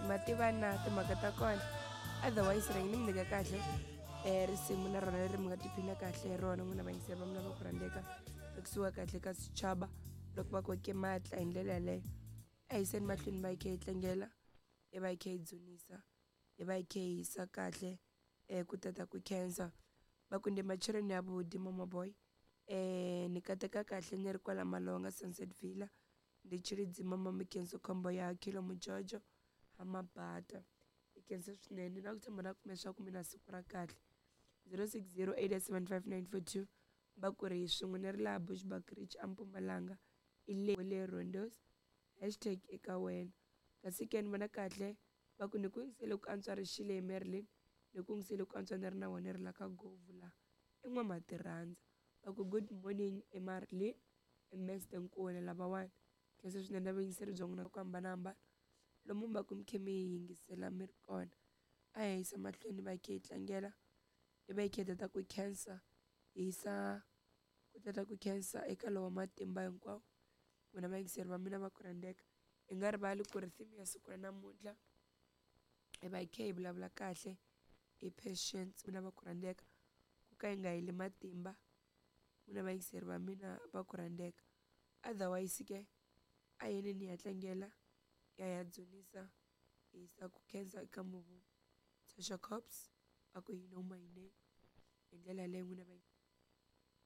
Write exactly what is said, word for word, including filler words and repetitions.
Ma tiva na timhaka ta kona. Otherwise rhangi ni mi nyika kahle um risimu na rona leri mi nga tiphina kahle hi rona n'wina vayingiseri va mina va ku rhandzeka ekusuka kahle ka swichava loko va koke matla hi ndlela yaleyo. A hi yiseni mahlweni va hi kha hi tlangela, hi va hi kha hi dzunisa, hi va hi kha hi yisa kahle um ku tata ku khensa. Va ku ndi matsheloni ya vhuḓi mama boy, um ni kateka kahle ni ri kwala Malonga Sunset Villa, ndi Tshilidzi mama Mkhenso khombo ya Khilo Mujojo ha Mabata. Hi khensa swinene na ku tshemba na ku leswaku mi na siku ra kahle. zero six zero eight seven five nine four two va ku ri swin'we ni ri laha Bushbuckridge a Mpumalanga i le le Rondos hashtag eka wena. Kasi ke ni vona kahle va ku ni ku yingisele ku antswa rixile hi Marilyn, ni ku yingisele ku antswa ni ri na wena ri la ka Govu la i n'wamatirhandza. Va ku good morning e Marilyn i Mister Nkuna lavawani. Khensa swinene na vuyingiseri bya n'wina ku hambanahambana lomu mi va ku mi kha mi yi yingisela mi ri kona. A hi yisa mahlweni va hi kha hi tlangela, hi va hi kha hi tata ku khensa, hi yisa ku tata ku khensa eka lowa matimba hinkwawo. N'wina vayingiseri va mina va ku rhandzeka, hi nga rivali ku ri theme ya siku ra namuntlha hi va hi kha hi vulavula kahle hi patience. N'wina va ku rhandzeka, ku ka hi nga heli matimba n'wina vayingiseri va mina va ku rhandzeka. Otherwise ke a yeni ni ya tlangela ya ya dzunisa hi yisa ku khensa eka Muvumbi. Tasha Cobbs va ku you know my name hi ndlela yaleyo n'wina va.